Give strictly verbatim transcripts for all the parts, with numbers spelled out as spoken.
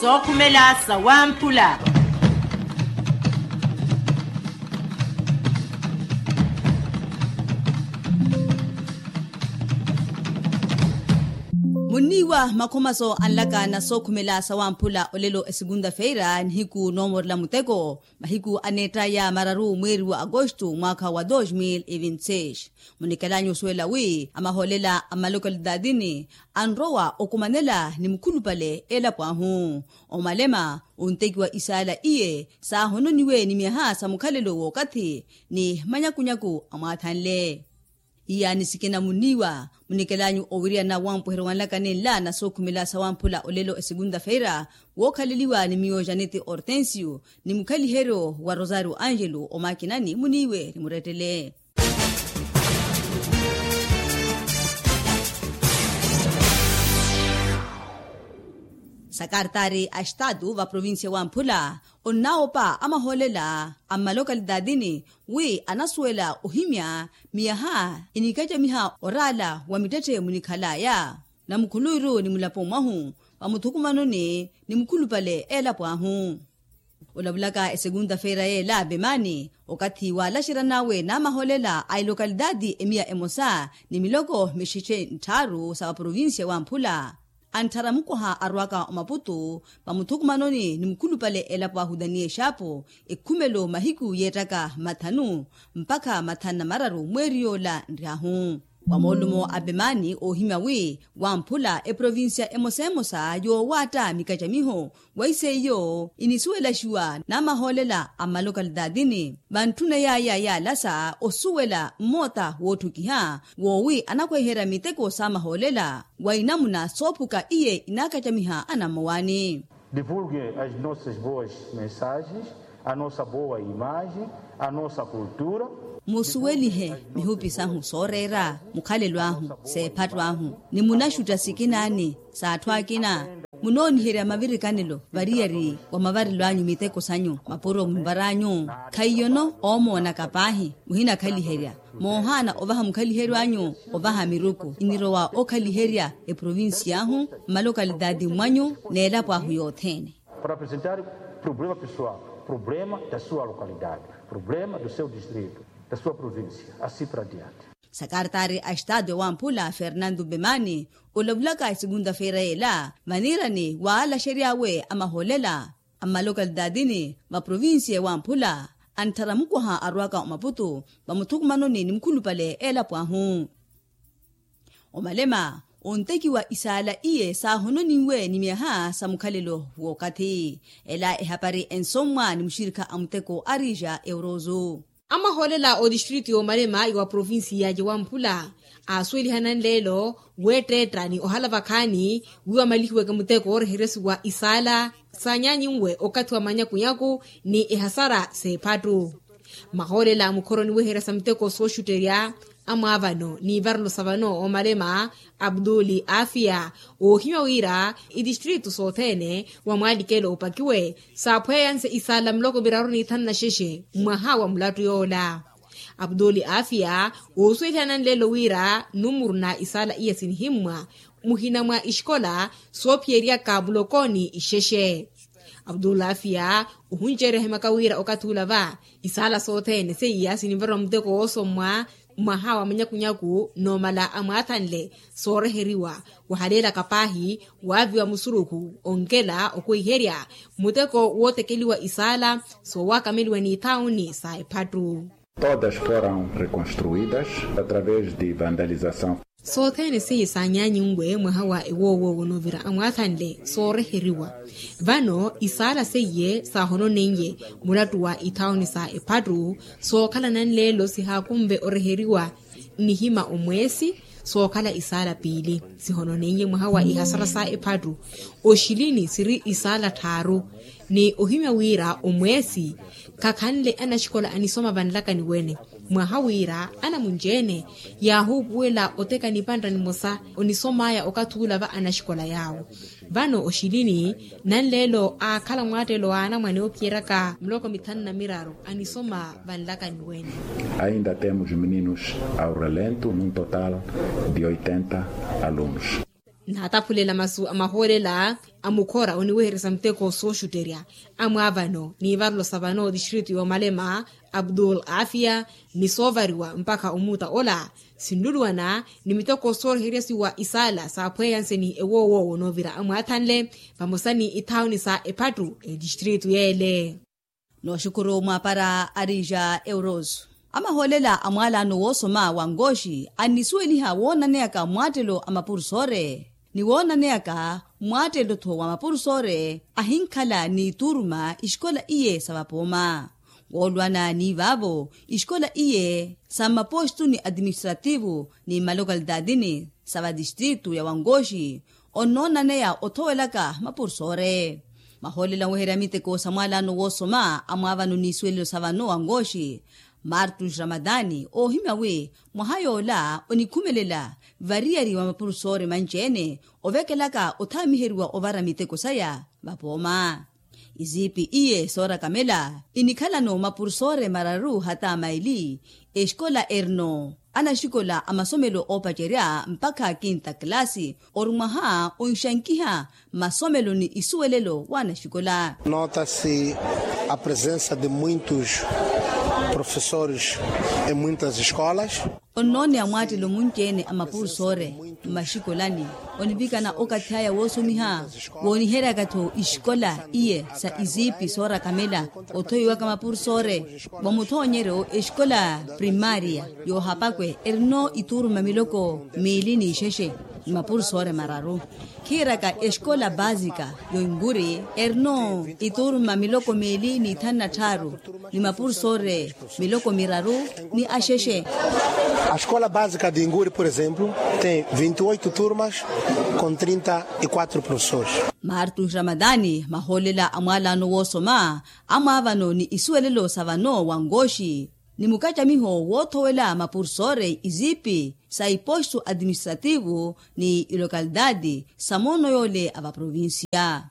Sookhumela sawamphula. Munniiwa makhomaso anlaka na sookhumela sawamphula olelo esekunta feira nihiku noomorela muteko mahiku aneettaya mararu mweeri wa agosto mwaakha wa dos mil e vinti seis. Munikelanyu osuwela wi amahoolela a malokalitadini anrowa okumanela ni mukhulupale elapo ahu. Omalema ontekiwa isaala iye saahononiwe ni myaha sa mukhalelo w'okathi ni manyakunyaku amwaathanle. Iyaani sikina munniiwa munikelanyu owiriyana wampuheryo wanlaka nenla na sookhumela sawamphula olelo esekunta feira wookhaleliwa ni miyo janeti hortensio ni mukhaliheryo wa rosario angelo omakinani muniiwe rimurettele. Sakartari a estatu va provincia wamphula onnaawopa amahoolela a mmalokalitadini wi anasuwela ohimya miyaha enikacamiha oraala wa mittetthe munikhalaya na mukhuluwiru ni mulapo mwahu va muthukumanoni ni mukhulupale elapo ahu. Olavulaka esekunta feira yeela pemani okathi waalaxeryan'awe n'amahoolela a elokalitati emiya emosa ni miloko mixexe nttharu sa vaprovincia wamphula antthara mukwaha arwaka omaputu va muthukumanoni ni mukhulupale elapo ahu daniel xaapo ekhumelo mahiku yeettaka mathanu mpakha mathanu na mararu mweeri yoola nryahu. Wa moolumo a pemani oohimya wi wamphula eprovincia emosa emosa yoowaatta mikacamiho wa iseiyo inisuwelaxiwa n'amahoolela a mmalokalitadini vantthuna yaya yaalasa osuwela mmoota wootthukiha woowi anakweherya miteko s'amahoolela wa inamuna soophuka iye inaakacamiha anammowaani. Divulgem as nossas boas mensagens, a nossa boa imagem, a nossa cultura. Musuwelihe mihupi sahu sooreera mukhalelo ahu seephattu ahu ni munaxutta sikinaani s'atthu akina munooniherya mavirikanelo variyari wa mavarelo anyu miteko sanyu mapuro munvar'anyu khaiyono oomoonaka paahi muhinakhaliherya moohaana ovaha mukhaliheryo anyu ovaha miruku inirowa okhaliherya eprovincia ahu mmalokalitati mwanyu n'elapo ahu yothene. Para apresentar problema pessoal, problema da sua localidade, problema do seu distrito, da sua província, assim para diante. Sakartari a estado ewamphula fernando bemani olavulaka esekunta feira yeela vaniirani waalaxery'awe amahoolela a mmalokalitatini va provincia ewamphula antthara mukwaha arwaka omaputu va muthukumanoni ni mukhulupale elapo ahu. Omalema ontekiwa isaala iye saahononiwe ni myaha sa mukhalelo w'okathi. Ela ehapari ensommwa ni muxirikha a muteko arija eurozo. Amahoolela otistritu y'omalema wa provincia ya wamphula aasuwelihanani leelo weetteetta ni ohala vakhaani wi wamalihiweke muteko ooreheryasiwa isaala saanyanyinwe okathi wa manyakunyaku ni ehasara s'ephattu. Mahoolela a mukhoro oniweherya sa miteko sooxutterya amwaavano n'ivarelo sa vano omalema abduli afia oohimya wira itistritu sothene wa mwaalikelo opakiwe saaphweyanse isaala muloko miraru n'ithanu na xexe mwaha wa mulattu yoola. Abduli afia oosuwelihanani leelo wira numuru na isaala iya sinihimmwa muhina mwa ixikola soophiyeryaka mulokooni ixexe. Abdul afia ohunceerya ohimaka wira okathi ula va isaala sothene seiya sinivariwa muteko woosommwa mwaha wa manyakunyaku n'omala amwaathanle sooreheriwa wahaleelaka paahi waaviwa musurukhu onkela okhuwiherya muteko wootekeliwa isaala soowakameliwa n'ithauni sa ephattu. Todas foram reconstruídas através de vandalização. Sothene seiye saanyanyinwe mwaha wa ewoowo wonovira amwaathanle sooreheriwa. Vano isaala seiye saahononeiye mulattu wa ithauni sa ephattu sookhala nanleelo sihaakunve oreheriwa. Nihima omweesi sookhala isaala piili sihononeiye mwaha wa ihasara sa ephattu oxilini siri isaala tthaaru. Ni ohimya wira omweesi khakhanle anaxikola anisoma vanlakani wene mwaha wira anamunci-ene yaahuupuwela oteka nipantta nimosa onisom'aya okathi ula va anaxikola yaawo. Vano oxilini nanleelo aakhala mwaattelo wa anamwane oophiyeryaka miloko mithanu na miraru anisoma vanlakani wene. Ainda temos meninos ao relento num total de oitenta alunos. Naataphulela masu a mahoolela a mukhora oniwehererya sa muteko sooxutterya amwaavano n'ivarelo sa vano distritu y'omalema, abdul afia, ni soovariwa mpakha omuuta ola sinluluwana ni miteko sooreheriwasiwa isaala saaphweyanseni ewoowo wonoovira amwaathanle vamosa ni ithaawuni sa ephattu etistritu yeele. Nooxukhuru mwaapara arija euros. Amahoolela a mwaalaano woosoma wa nkooxi annisuweliha woonaneyaka mwaattelo a mapurusoore ni woonaneyaka mwaattelo-tho wa mapurusoore ahinkhala n'ituuruma ixikola iye sa vapooma. Woolwana ni vaavo ixikola iye sa mmapostu ni atiministrativu ni mmalokalitaathini sa vatistritu ya wankooxi onnoonaneya othowelaka mapurusoore. Mahoolela onweherya miteko sa mwaalaano woosoma a mwaavano n'isuwelelo sa vano wankooxi martus ramadani oohimya wi mwaha yoola onikhumelela variyari wa mapurusoore manci-ene ovekelaka othaamiheriwa ovara miteko saya vapooma. Iziipi iye soorakamela inikhalano mapurusoore mararu hata maili exikola erno anaxikola a masomelo oopacerya mpakha kinta kilasi ori mwaha onxankiha masomelo ni isuwelelo w'anaxikola. Nota-se a presença de muitos professores em muitas escolas. Onnooneya mwaattelo munci-ene a mapurusoore mmaxikolani onivikana okathi aya woosomiha wooniheryaka-tho ixikola iye sa iziipi soorakamela othowiwaka mapurusoore. Wa muthoonyeryo exikola primaria yoohapakwe erino ituuruma miloko miili n'ixexe ni mapurusoore mararu. Khiiraka exikola baasika y'oinkuri erino ituuruma miloko miili n'ithanu na tthaaru ni mapurusoore miloko miraru ni axexe. A escola básica de inkuri por exemplo tem vinte e oito turmas com trinta e quatro professores. Martus ramadani mahoolela a mwaalaano woosoma a mwaavano ni isuwelelo sa vano wa nkooxi ni mukacamiho woothowela mapurusoore iziipi sa ipostu atiministrativu ni ilokalitati sa moono yoole a vaprovincia.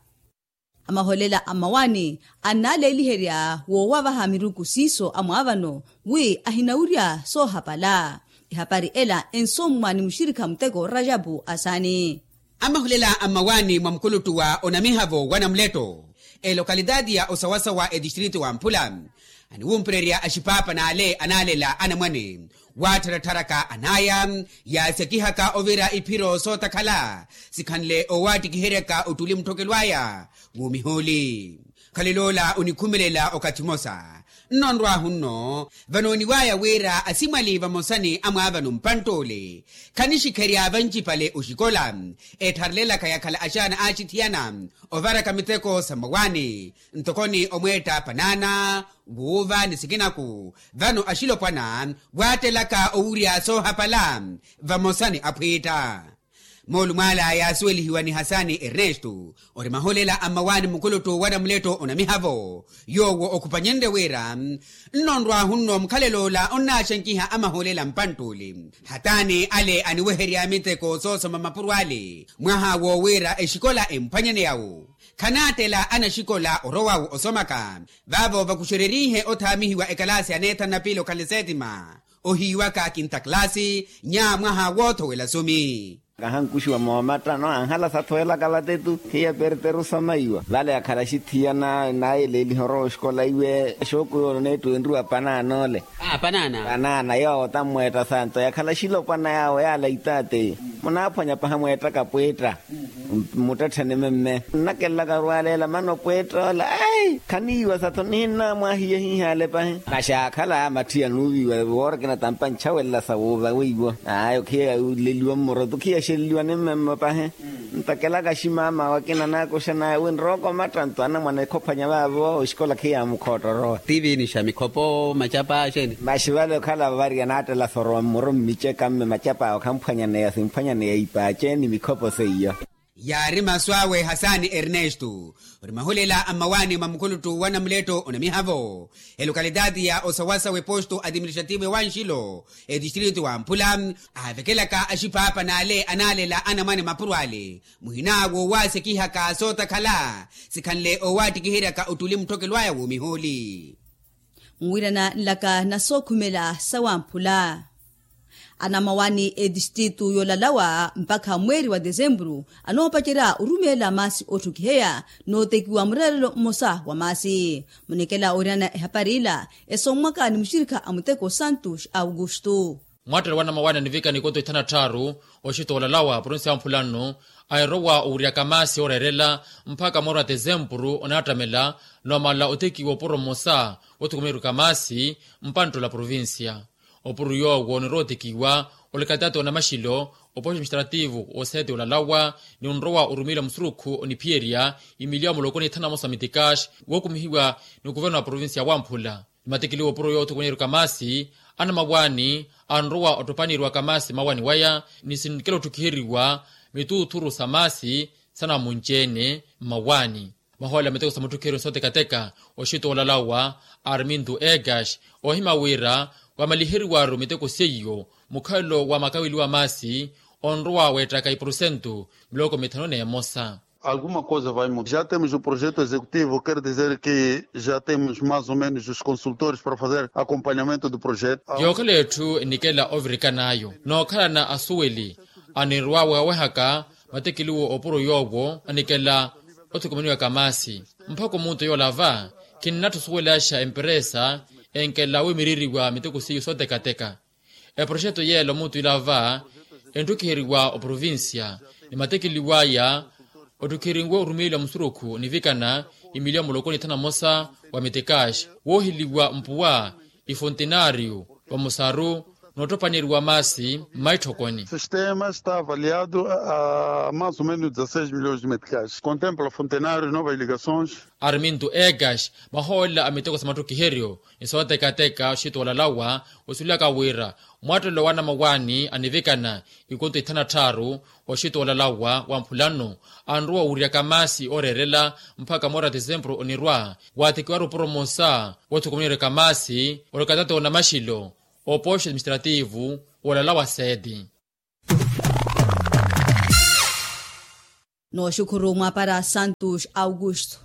Amaholela a mmawaani annaleeliherya woowavaha miruku siiso a mwaavano wi ahinawirya soohapala. Ehapari ela ensommwa ni muxirikha muteko rajapu asani. Amaholela a mmawaani mwa mukuluttu wa onamihavo wa namuletto elokalitati ya osawasawa etistriti wa mphula aniwumpurerya axipaapan'ale anaalela anamwane waattharattharaka an'aya yaasakihaka ovira iphiro sootakhala sikhanle owaattikiheryaka ottuli mutthokelo aya w'umihooli. Khalel'ola onikhumelela okathi mmosa nnonrwahu nno vanooniw'aya wira asimwali vamosani a mwaavano mpantt'ole khanixikherya vancipale oxikola ettharelelaka yakhala axaana aaxithiyana ovaraka miteko sa mmawaani ntokoni omweetta panaana wuuva ni sikinaku vano axilopwana waattelaka owurya soohapala vamosa ni aphwiitta. Moolumo ala yaasuwelihiwa ni hasani ernesto ori maholela a mmawaani mukuluttu wa namuletto onamiha-vo yoowo okhupanyenrye wira nnonrwahu nno mukhalel'ola onnaaxankiha a maholela mpantt'ule hatani ale aniweherya miteko soosoma mapuro ale mwaha wowira exikola emphwanyaneya-wo khanaattela anaxikola orowa-wo osomaka vaavo vakuxererihe othaamihiwa ekalaasi ya neethanu na piili okhale setima ohiiwaka kinta kalaasi nya mwaha woothowela sumi. Kahankuxiwa moomattano anhala sathowelaka vatetu hiya perteru somaiwa vale yakhala axithiyana naayeleeliha orowa oxikola iwe xookuyono neettwenriwa panaana ole. Panaana yoowo tammweetta santo yakhala axilopwana yaawo yaala itaateye munaaphwanya paha mweettaka pweetta mmuttettheni memme nnakelelaka orwaleela mana opweetta ola ai khaniiwa satho nihinnamwaahiye hihaale pahi. Masi aakhala matthi anuuviwa woora kina tampa nchawelela sa wuuva weiwo ayo khiyaleliwa mmoroto khiyaxeleliwa ni mmemme pahi. Ntakelaka aximama wakina naakuxanaya wi nrooko mattanto anamwane ekhophwanya vaavo oxikola khiyaamukhootta orowa. Tiivinixa mikhopo macapa xeeni. Masi vale okhala vavariya naattela sorowa mmoro mmiceka mme macapa awo khamphwanyaneya simphwanyaneya ipaace ni mikhopo seiyo. Yaari masu awe hasani ernesto ori mahulela a mmawaani mwa mukhuluttu wa namuletto onamiha-vo elokalitati ya osawasa w'eposto atiministrativo ewanxilo etistrito wa mphula aavekelaka axipaapan'ale anaalela anamwane mapuro ale muhina woowasekihaka sootakhala sikhanle owaattikiheryaka ottuli mutthokelo aya w'omihooli. Nwirana nlaka na sookhumela sawamphula. Anamawani etistritu yoolalawa mpakha mweeri wa tesempuru anoopacerya orumeela maasi otthukiheya nootekiwa mureerelo mmosa wa maasi. Munikela owiirana ehapari ila esommwaka ni muxirikha a muteko santos augusto. Mwattelo wa anamawani anivikana ikonto ithanu na tthaaru oxito olalawa provincia ya mphula nno, anrowa owuryaka maasi ooreerela mpakha mweeri wa tesempuru onaattamela, noomala otekiwa opuro mmosa wothukumeryaka maasi mpanttola provincia. Opuro yoowo onirowa otekiwa olekatati onamaxilo oposto administrativo oseti olalawa, ni onrowa orumiila musurukhu oniphiyerya imiliya muloko ni thanu na mosa mitikaxi wookumihiwa ni kuverno wa provincia wamphula. Ni matikiliwa opuro yoowo othukumeryaka maasi anamawaani anrowa ottopanirwaka maasi mmawaani waya, ni sinkela otthukiheriwa mituuthuru sa maasi sanamunci-ene mmawaani. Mahoolela miteko sa mutthukheryo sootekateka oxito olalawa arminto egas, oohimya wira wamaliheriwaru miteko seiyo mukhalelo wa makaweliwa maasi onrowa weettaka iporsentu miloko mithanu n'emosa. Alguma coisa vai mudar. Já temos o projeto executivo, quer dizer que já temos mais ou menos os consultores para fazer acompanhamento do projeto. Yookhala etthu enikela ovirikan'ayo nookhalana asuweli anirwa wewehaka matekeliwo opuro yoowo anikela othukumaniwaka maasi. Mpakha omuntu yoola va khinnatthu osuwelaxa emperesa enkela wimiririwa miteko seiyo sootekateka. Eproxeto yeela omuntu ila va entthukiheriwa oprovincia ni matekeliw'aya otthukherinwe orumiila musurukhu onivikana imiliya muloko ni thanu na mosa wa mitikaxi woohiliwa mpuwa ifontenario vamosaru noottopaneriwa maasi mmaitthokoni. Sistema está avaliado a mais ou menos dezasseis milhões de meticais contempla fontenario novas ligações. Arminto egas, mahoolela a miteko sa matthukiheryo ni sootekateka oxito olalawa osuwelaka wira mwattelo wa anamawaani anivikana ikonto ithanu na tthaaru oxito olalawa wamphula nno anrowa owuryaka maasi ooreerela mpakha mweeri wa tesempuru onirwa waatekiwaru opuro mmosa wothukumeryaka maasi olekatati onamaxilo oposto administrativo olalawa seti. Nooxukhuru mwaapara santos augusto,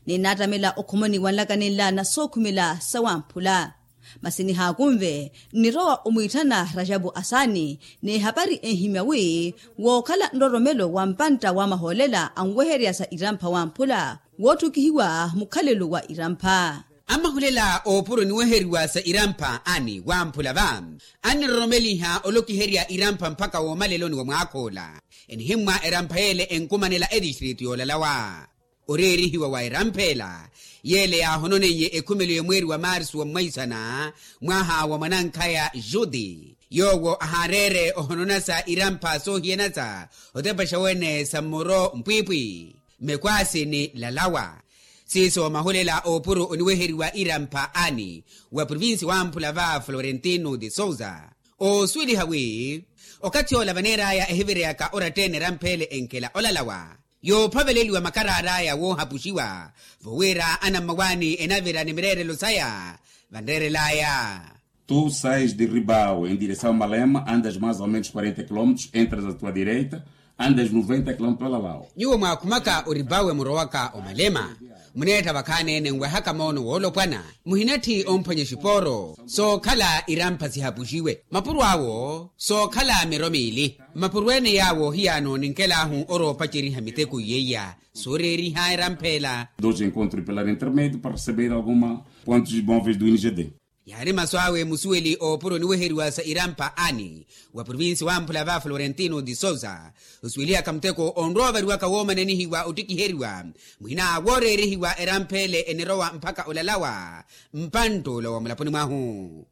ninnaattamela okhomoni wa nlaka ninla na sookhumela sa wamphula. Masi nihaakunve nnirowa omwiitthana rajapu asaani n'ehapari enhimya wi wookhala nroromelo wa mpantta wa mahoolela anweherya sa irampha wamphula wootthukihiwa mukhalelo wa irampha. Amahoolela oopuro oniweheriwa sa irampha ani wamphula va anniroromeliha olokiherya irampha mpakha woomaleloni wa mwaakhoola. Enihimmwa erampha yeele enkumanela etistritu yoolalawa oreerihiwa wa erampha ela yeele yaahononeiye ekhumelo ya mweeri wa marsu wa mwaisana mwaha wa mwanankhaya judi yoowo ahaareere ohononasa irampha soohiyanasa otepaxa wene sa mmoro mpwiipwi mekwaasi ni lalawa. Siiso mahulela oopuro oniweheriwa irampha ani wa provinsi wamphula va florentino de sousa oosuweliha wi okathi ola vaneeraya ehivireyaka oratta-ene erampha ele enkela olalawa yoophaveleliwa makaraar'aya woohapuxiwa vowira anammawaani enavira ni mireerelo saya vanreerel'aya. Tu sais de ribau em direção a malema andas mais ou menos quarenta quilómetros entras a tua direita andas noventa quilómetros olalawa. Nyuwo mwaakhumaka oribawe murowaka omalema muneetta vakhaani-ene nwehaka moono woolopwana muhinatthi omphwanya exiporo sookhala irampha sihapuxiwe mapuro awo sookhala miro miili. Mapuro ene yaawo hiyaano ninkel'ahu oroopaceriha miteko yeiya sooreeriha erampha ela. Dos encontros pela intermédio para receber alguma pontos móveis do ingd. Yaari masu awe musuweli oopuro oniweheriwa sa irampha ani wa provinsi wamphula va florentino de sousa osuwelihaka muteko onrowa ovariwaka woomananihiwa ottikiheriwa muhina wooreerihiwa erampha ele enirowa mpakha olalawa mpantt'ula wa mulaponi mwahu.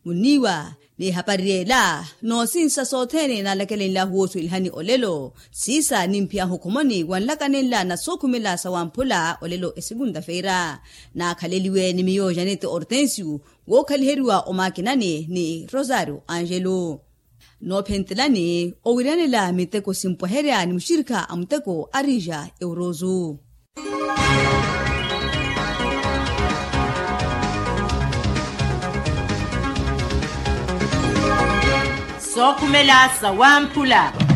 Munniiwa n'ehapari ela noosinsa sothene naalakelenlahu woosuwelihani olelo siisa nimphiyahu okhomoni wa nlaka nenla na sookhumela sa wamphula olelo esekunta feira naakhaleliwe ni miyo janete hortensio wookhaliheriwa omaakinani ni rosario angelo. Noophentelani owiranela miteko simpwaherya ni muxirikha a muteko arija eurozu. Sookhumela sa wamphula.